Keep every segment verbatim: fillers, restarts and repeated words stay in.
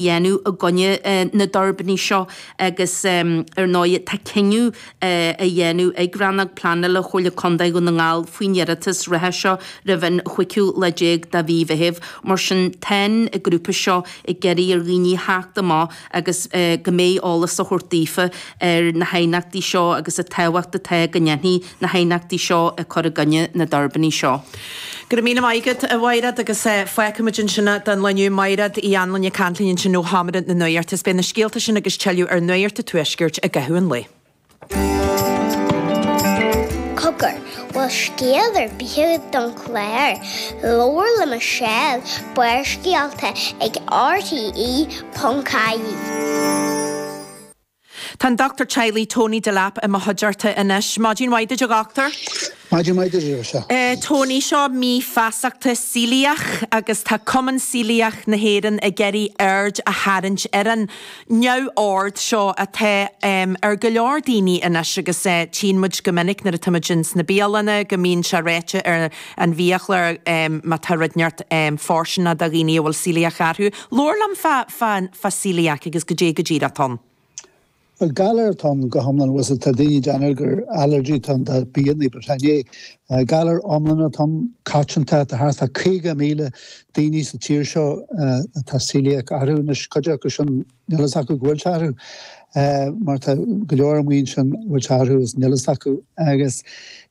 dhéanamh i gcoinne na dtuirbíní seo agus ar ndóigh tá cinneadh á dhéanamh ag Rannóg Pleanála Chomhairle Contae Dhún na nGall faoin iarratas reatha seo roimh an chúigiú lá déag de mhí Mheithimh. Mar sin tá an grúpa seo ag iarraidh ar dhaoine theacht amach agus go mbeidh eolas á thabhairt daofa ar na haighneachtaí seo agus an tábhacht atá go ndéanfaí na haighneachtaí seo ag cur i gcoinne na dtuirbíní seo. Go raibh míle maith agat, a Mhaighread, agus fágfaimid ansin don lá inniu. Maighread Uí Anluain ag caint linn ansin ó Sheomra na Nuachta. Is beidh na scéalta sin agus tuilleadh ar Nuacht an Tuaiscirt i gcaitheamh an lae. Cogar, bhfuil scéal ar bith agat don chlár? Labhair le Michelle, Barrscéalta ag RTE ponc ie. Tá an Dochtúir Teaghlaigh Tony Delap i mo chuideachta anois. Maidin mhaith duit a dhochtúir. Maidin mhaith duit a Mhichelle. Tony, seo mí feasachta celiac agus tá Cumann Celiac na hÉireann ag iarraidh aird a tharraingt ar an neamhord seo atá ar go leor daoine anois agus tchíonn muid go minic nuair atá muid ins na bialanna go mbíonn sé ráite ar an bhiachlár má tá rud inteacht fóirsteanach do dhaoine a bhfuil celiac orthu. Labhair liom fá fá fá celiac agus goidé go díreach atá ann. Bhuel, galar atá ann go hiomlán, bhfuil tá daoine ag déanamh gur allergy atá ann do bianna, but chan é. Galar iomlán atá ann, coitianta, tá thart fá caoga míle daoine sa tír seo atá celiac orthu. Anois, cuid acu sin, níl a fhios acu go bhfuil sé orthu, mar tá go leor amuigh ansin a bhfuil sé orthu is níl a fhios acu. Agus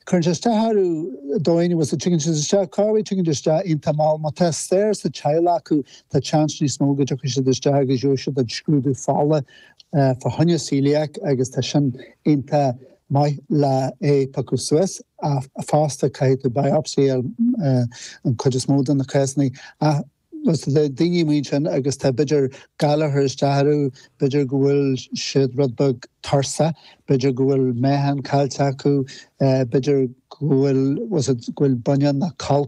cuireann sé isteach orthu dóigh, bhfuil tigeann siad isteach, cá bhfuil tigeann siad isteach iontach mall. Má tá stair sa teaghlach acu, tá seans níos mó go dtiocfaidh siad isteach agus gheobhaidh siad an scrúdú fola fá choinne celiac agus tá sin iontach maith le é piocadh suas. Ach fosta caithfidh tú biopsy ar an chuid is mó de na cásanna. Ach tá daoine amuigh ansin agus tá b'fhéidir galar ag cur isteach orthu, b'fhéidir go bhfuil siad rud beag tuirseach, b'fhéidir go bhfuil meáchan caillte acu, b'fhéidir go bhfuil go bhfuil bunion nó colp